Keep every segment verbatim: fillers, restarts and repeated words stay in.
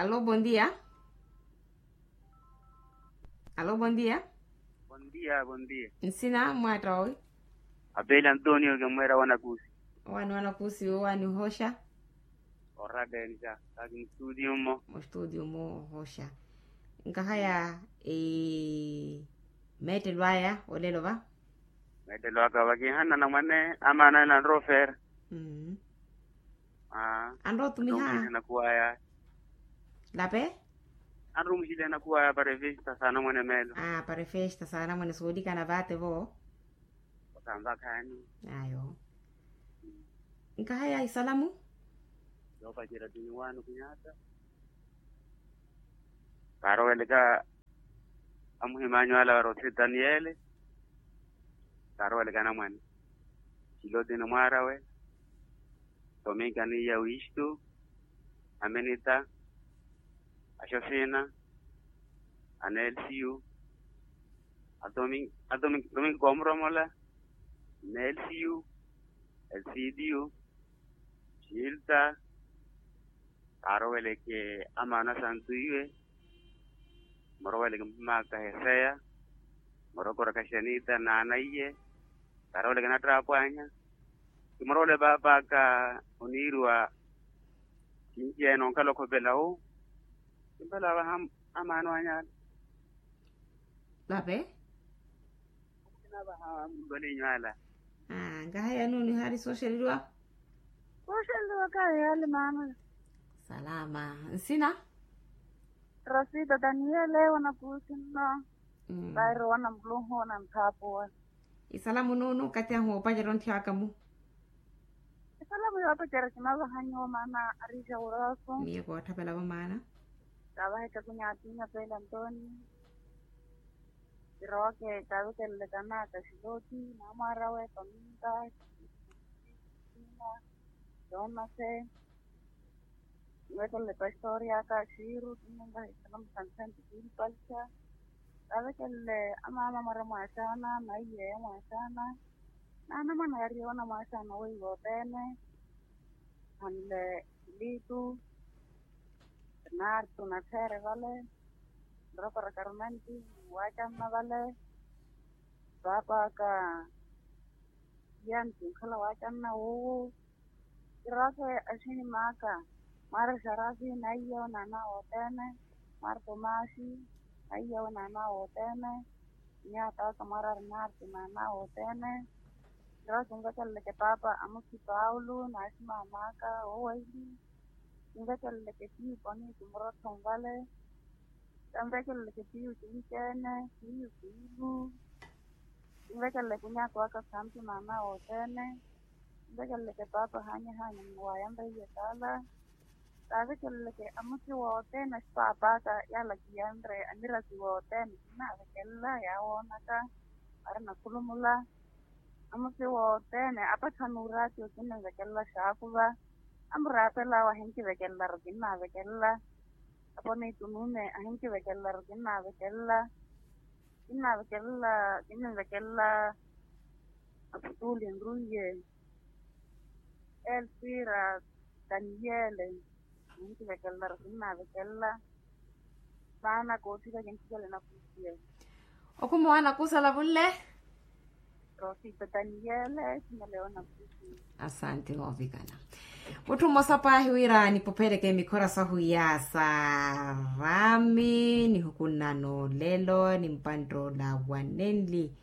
Alo bondia. Alo bondia. Bondia bondia. Nsina mwaatta owi? Apeli antonio kimweera wanakusi. Owani wanakusi owani ohoxa? Orradenja kaki mustutiyo mmo. Mustutiyo mmo ohoxa. Nkahaya meettelo aya olelo va? Meettelo aka vakihanna na mwane amaana ela anroofeera. Anrotumiha. Anrumixihe nakuwaya. Lape? Anrumixihe nakuwaya para efesta saana mwane meelo. Para efesta saana mwane soolikana vaate vo. Osanvakhaani. Ayo. Nkahaya isalamu? Yoopacerya tuniwaani okunyaata. Kaaroweleka amuhimanyu ala varoti daniele. Kaaroweleka anamwane. Silotini mwaarawe. Tominkani ya wistu. Aminita. Axofina. Anelsiyu. Atominki koomuromola. Nelsiyu. Elsidiyu. Silta. Kaaroweleke amaana santu iwe. Muroweleke mphimaka heseya. Murokoraka xanita naana iye. Kaaroweleke nattraapwanya. Kimurowele paapaka oniiriwa. Kinci ene onkhala okhopela wu. Kimpela avaha amaana wanyala. Lape? Kinavaha mundu alinyu ala. Nkahaya nuuni ohaari sooxeleliwa? Sooxeleliwa kahi yaali maana. Salama. Nsina? Rosita daniele wanakuusi nno. Vairo wana muluhu na nthaapuwa. Isalamu nuunu okathi ahu woopacerya onthi aka mu. Isalamu yoopacerya kinavaha nyuwo maana ariixa wurooso. Miyo kootthapelavwa maana. Kaavaha ekakunya atinya pele antoni. Kiroke kaavekelele kanaka xiloti naamwaarawe paminta. Jonase. Kinvekelele pastori aka xiiru kinnenkaha isalamu santhenti kimpalisa. Kaavekelele amaama mwara mwaaxaana na iyeeya mwaaxaana. Naana mwana yariye wana mwaaxaana weiwo othene. Hanle litu. Nartu nattheere vale. Nrokoraka rumanti. Waacanna vale. Paapa aka. Yanti nkhala waacanna wuuwu. Kirooke axini maaka. Mwaara xarafi naiya onaana wothene. Mwaara tomaxi. Naiya onaana wothene. Nyaata aka mwaara rinarti naana wothene. Kirooke kinvekeleleke paapa amusi paulo naaxi maamaaka. Wowaili. Kinvekeleleke tiyo poniti murottho nvale. Kanvekeleleke tiyo kinci-ene tiyo kiilu. Kinvekeleleke onyaako aka santu naana wothene. Kinvekeleleke paapa haanyahaanya mwayanreiye taala. Kaavekeleleke amusi wothene axipaapa aka yaala kiyanre amirasi wothene kinaavekelela yaawoonaka. Ari nakhulumula. Amusi wothene apatthana uraatiyo kinvekelela xaakuva. Amuraapela awo ahinkivekelelaru kinnaavekelela. Apo niitunume ahinkivekelelaru kinnaavekelela. Kinnaavekelela kinnvekelela. Aputuli nruiye. Elvira. Daniele. Ahinkivekelelaru kinnaavekelela. Maana koothika kintthikele nakusiye. Okhuma owaana kuusalavunle. Rosita daniele simeleona. Asante noovikana. Mutthu mmosa paahi wira nipophereke mikhora sahu yaasa rami nihukunna noolelo ni mpanttoola wa nenli.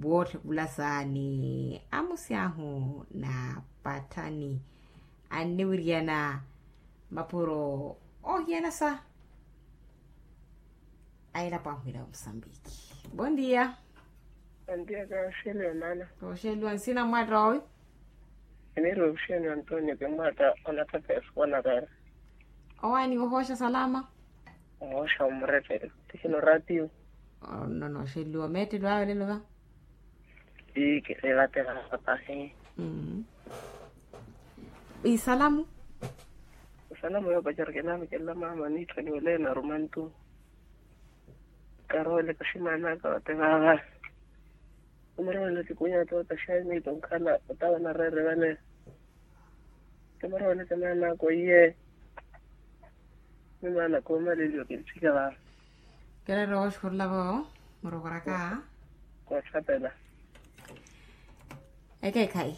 Wootthe khulasa ni amusi ahu na patthani anniwiriyana mapuro oohiyanasa. Ayilapo ahwira musambiki. Bondia. Bondia kaaxeliwa maana. Kooxeliwa nsina mmwatta owi? Eniiri oxeliwa antonio kimwatta. Onatha pesu wanarera. Owaani ohooxa salama. Ohooxa omureperi tihino ratio. Ononooxeliwa meettelo awe olelo va. Ii kireevatera papahi. Isalamu. Isalamu yoopacerya kinaamikelela maama niitthaniwele narumantu. Karoole kaximaanaka ote vaava. Kimurowele kikunya toota xayi niitu nkhala otawa nareere vale. Kimurowele kinaanaka oiye. Ni maana koomaleliwa kintthika vaava. Kereera wooxukhurula vo murokoraka. Koothapela. Ekeekhayi.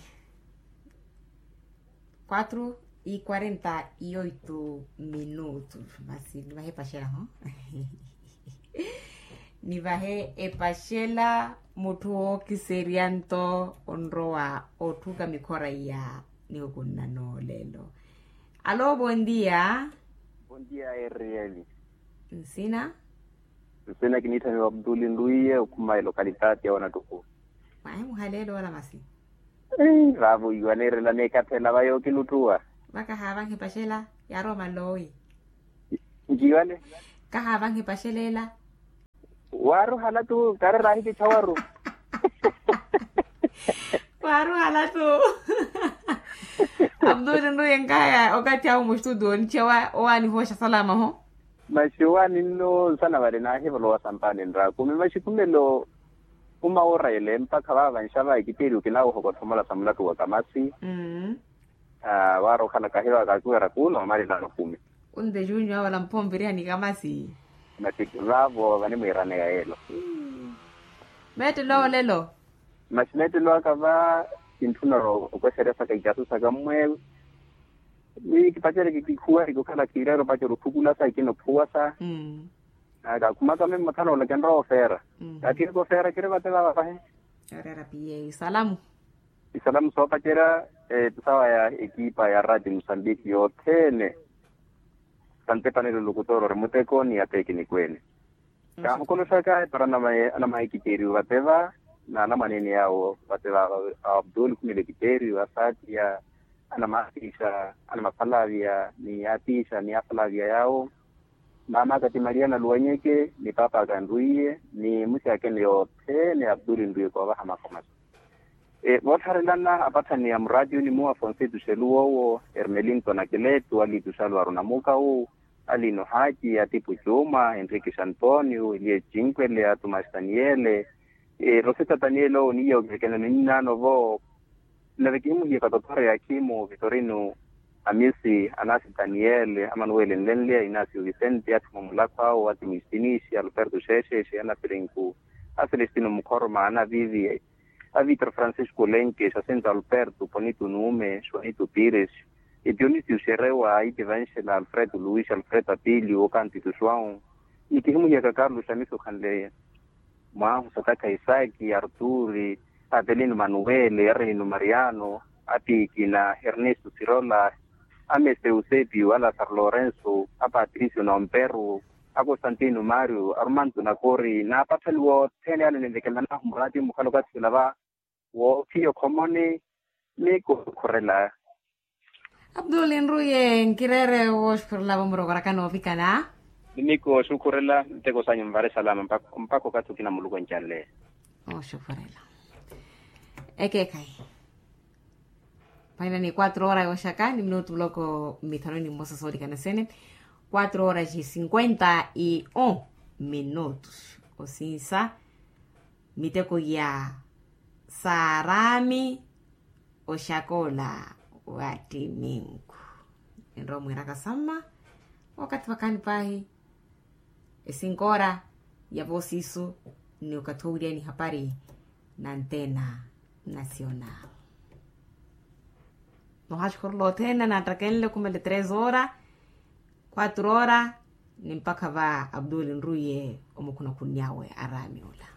Quatro e quarenta e oito minutos masi nivahe epaxela ho. Nivahe epaxela. Mutthu wookiserya nto onrowa otthuka mikhora iya nihukunna noolelo. Alo bondia. Bondia eriyeli. Nsina. Nsina kiniitthaniwa abduli nluiye okhuma elokalitati ya wanattuku. Mwahi muhaleelo wala masi. Vaavo iwaneerela neekatthela va yookiluttuwa. Vaka haavanhe epaxela yaarowa maloowi. Nkiwane. Kahaavanhe epaxela ela. Waaruhala tu kaari raahikittha waru. Waaruhala tu. Abduli nruye nkaya okathi awo mustudio onichewa owaanihooxa salama ho. Maxi owaani nno nsana vale naahivolowa sampaani nraakumi maxi khumelo. Uma woorayele mpakha vaava nxava ekitteeriwe kinaawohokothomola sa mulattu wa kamasi. Waara okhala kahiva kakiwera kuula omalilano kumi. Unde junyu avala mpomvirihani kamasi. Masi vaavo vanimwiiraneya yeelo. Meettelo olelo. Masi meettelo aka va kintthuna okweseryasaka ikyasu saka mmweewe. Ni kipacereke kikhuwariki okhala khiireera opacerya otthukulasa ikina opphuwasa. Kakhumaka mimmo thanoola kinrowa ofeera. Kakhirika ofeera kiri vate vaava pahi. Oreera piyeeyo isalamu. Isalamu soopacerya. Sawa ya ekipa ya rati musambiki yothene. Santepanelo lukutoro ori muteko ni atekiniku ene. Kaahokoloxaka epara anamahikitteeriwe vate va na anamwaneene yaawo vate va. Abdul khumile ekitteeriwe asaatiya anamaapiixa anamafalaviya ni yaapiixa ni afalaviya yaawo. Maam'aka ti maria naluwanyeke ni paap'aka nrwiiye ni musi akene yothene abduli nrwiiye koovaha makomasi. Voottharelana apathani ya muraatiyuni mu afonsetu xelu woowo, hermelinto nakeletu alitu xalu aru namukawu, alino haki atipu cuuma, henriki xantonio elie cinkwele atumaxi taniele. Roseta taniele owo niiya okivekelani ninaano vo. Nave kihimuhiyaka totore ya kimu vitorino, amisi anasi taniele amanuwele nlenleya inasio vicente athuma mulakho awo atimu isinixi alberto xeexeexe anapirinku, acelestino mukhoroma anavivi, avitro francisco lenke xasinto alberto ponito nume xonito pires, epionisio xerewa aitivanxela alfredo luis alfredo atilio okantitu joão, ni kihimuhiyaka carlos xamisi okhanleya. Mwahu satakha isaki arturi, apelino manuwele arrehino mariano, apikina ernesto sirola, amese eusepio alasaro lorenso, apatricio nomperu, akostantino mario arumanto nakori n'apathani wothene ale ninvekelanahu muraati mukhala okathi sila va. Woophiya okhomoni, ni kukhurela. Abduli nruye nkireere wooxukhurela vomurokoraka noovikana. Ni miku oxukhurela nteko sanyu mvare salama mpakha okathi okina muluku encanle. Oxukhurela. Ekeekhayi. Paina ni quatro hora yooxaka ni minutu muloko mithanu ni mmosa soolikana sene. Quatro horas e cinquenta e um minutos. Osinsa miteko ya saarami oxakola wa ttiminku. Enrowa mwiiraka samma okathi vakhaani paahi esinkora ya voosiisu ni okathi owiriyani hapari na antena nasional. Nohaxukhurula othene nattakenle khumele tres hora quatro hora ni mpakha va abdul nruye omukhunakhunny'awe araami ola.